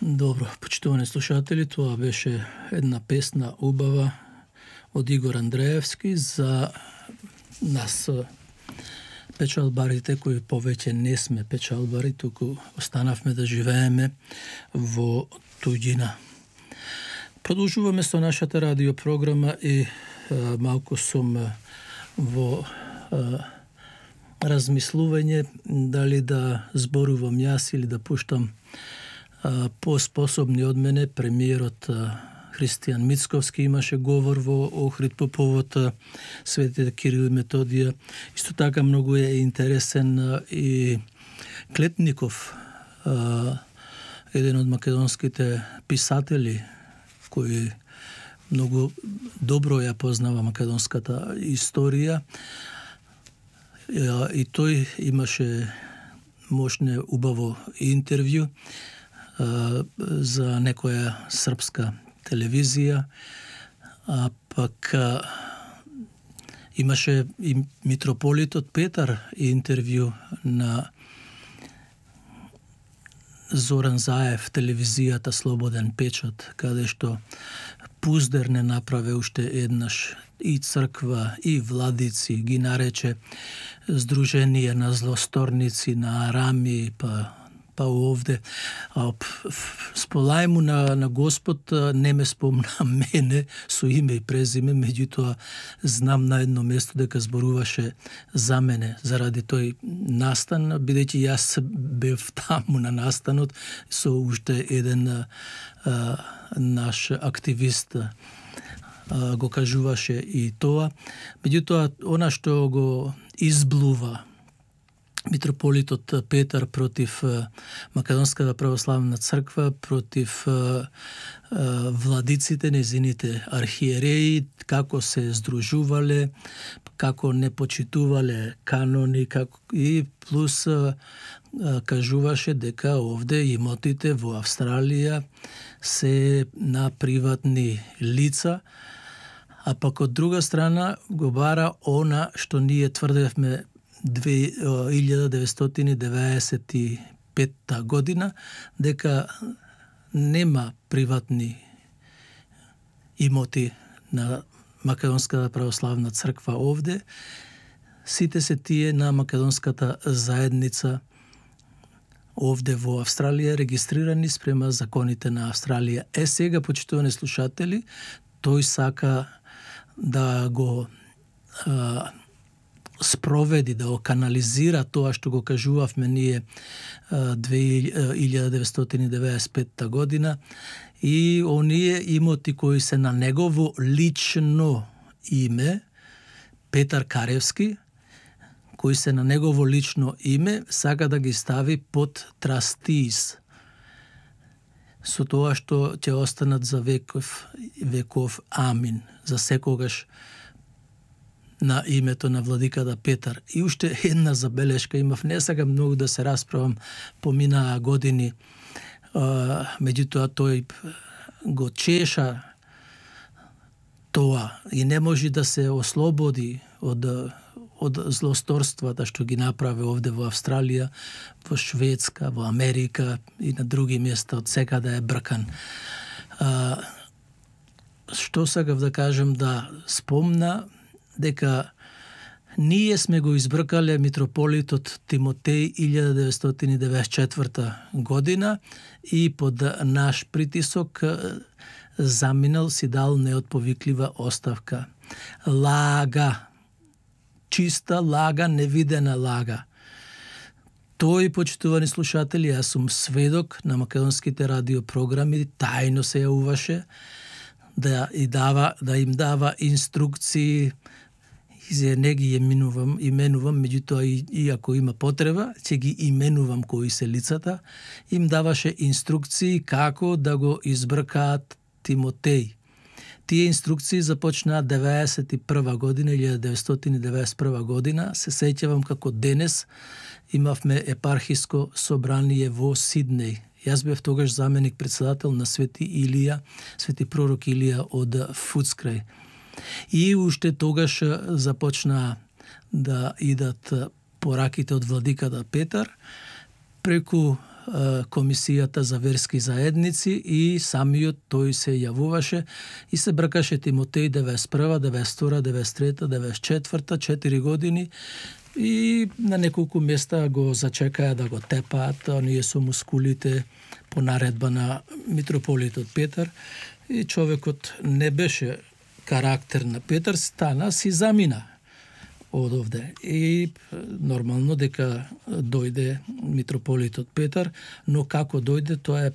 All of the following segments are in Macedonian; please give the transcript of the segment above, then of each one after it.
Добро, почитувани слушатели, тоа беше една песна убава од Игор Андреевски за нас печалбарите кои повеќе не сме печалбари, туку останавме да живееме во туѓина. Продолжуваме со нашата радиопрограма и малку сум во размислување дали да зборувам јас или да пуштам поспособни од мене. Премиерот Христијан Мицковски имаше говор во Охрид по повод светите Кирил и Методија. Исто така многу е интересен и Клетников, еден од македонските писатели кој многу добро ја познава македонската историја. И тој имаше мощне убаво интервју за некоја српска телевизија, а пак имаше и митрополитот Петар интервју на Зоран Заев, телевизијата Слободен печат, каде што пуздер не направе уште еднаш и црква и владици, ги нарече Сдружение на злосторници, на арами, па овде. Сполај му на Господ, не ме спомна мене со име и презиме, меѓутоа знам на едно место дека зборуваше за мене заради тој настан, бидејќи јас бев таму на настанот со уште еден наш активист, го кажуваше и тоа. Меѓутоа, она што го изблува митрополитот Петар против Македонската православна црква, против владиците, незините архиереи, како се здружувале, како не почитувале канони, и плюс кажуваше дека овде имотите во Австралија се на приватни лица, а пак од друга страна го бара она што ние тврдевме 1995 година, дека нема приватни имоти на Македонската православна црква овде, сите се тие на македонската заедница овде во Австралија, регистрирани спрема законите на Австралија. Сега, почитувани слушатели, тој сака да го спроведи, да го канализира тоа што го кажувавме ние 1995 година, и оние имоти кои се на негово лично име, Петар Каревски, кои се на негово лично име, сака да ги стави под трастиз, со тоа што ќе останат за веков амин, за секогаш на името на владиката Петар. И уште една забелешка имав, не сакам многу да се расправам, поминаа години, меѓутоа тој го чеша тоа и не може да се ослободи од злосторствата што ги направи овде во Австралија, во Шведска, во Америка и на други места, од секаде е бркан. Што сакав да кажам, да спомна дека ние сме го избркале митрополитот Тимотеј 1994 година и под наш притисок заминал, си дал неотповиклива оставка. Лага, чиста лага, невидена лага. Тој, почитувани слушатели, јас сум сведок на македонските радиопрограми, тајно се јавуваше да им дава инструкции. Не ги именувам, меѓутоа и ако има потреба, ќе ги именувам кои се лицата. Им даваше инструкции како да го избркаат Тимотеј. Тие инструкции започнаа 1991 година, 1991 година. Се сеќавам како денес имавме епархиско собрание во Сиднеј. Јас бев тогаш заменик председател на Свети пророк Илија од Фудскрај. И уште тогаш започна да идат пораките од владиката Петар преку Комисијата за верски заедници и самиот тој се јавуваше и се бркаше Тимотеј 91, 92, 93, 94, 4 години и на неколку места го зачекаја да го тепаат, оние со мускулите по наредба на митрополитот Петар и човекот не беше карактер на Петар, стана си замина од овде. И нормално дека дојде митрополитот Петар, но како дојде, тоа е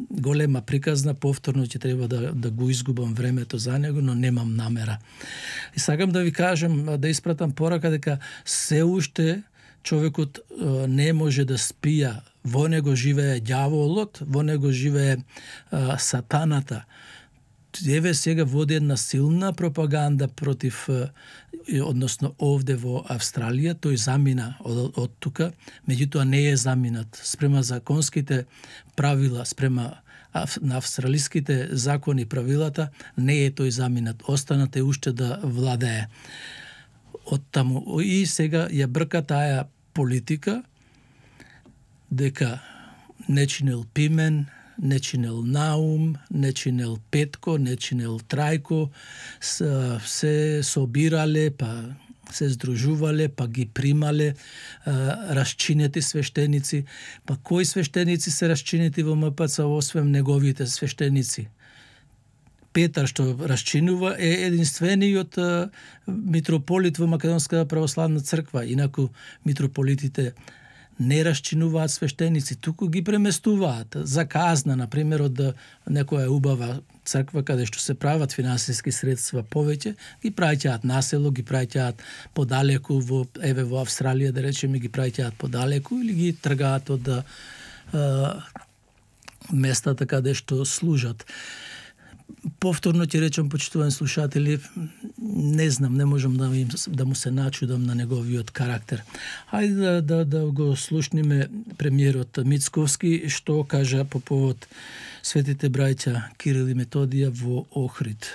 голема приказна, повторно ќе треба да го изгубам времето за него, но немам намера. И сакам да ви кажам, да испратам порака дека се уште човекот не може да спија, во него живее ѓаволот, во него живее сатаната. Еве сега води една силна пропаганда против, односно овде во Австралија, тој замина од тука, меѓутоа не е заминат. Спрема законските правила, спрема на австралиските закони правилата, не е тој заминат. Останате уште да владее. Од таму и сега ја брка таа политика дека не чинел Пимен, не чинел Наум, не чинел Петко, не чинел Трајко, се собирале, па се здружувале, па ги примале расчинети свештеници. Па кои свештеници се расчинети во МПЦ, освен неговите свештеници? Петар што расчинува е единствениот митрополит во Македонската православна црква, инаку митрополитите не расчинуваат свештеници, туку ги преместуваат за казна, например, од некоја убава црква каде што се прават финансиски средства повеќе, ги праќаат насело, ги праќаат подалеку во Австралија, да речеме, ги праќаат подалеку или ги тргаат од местата каде што служат. Повторно ќе речам, почитувани слушатели, не знам, не можам да му се начудам на неговиот карактер. Хајде да го слушниме премиерот Мицковски што кажа по повод светите браќа Кирил и Методија во Охрид.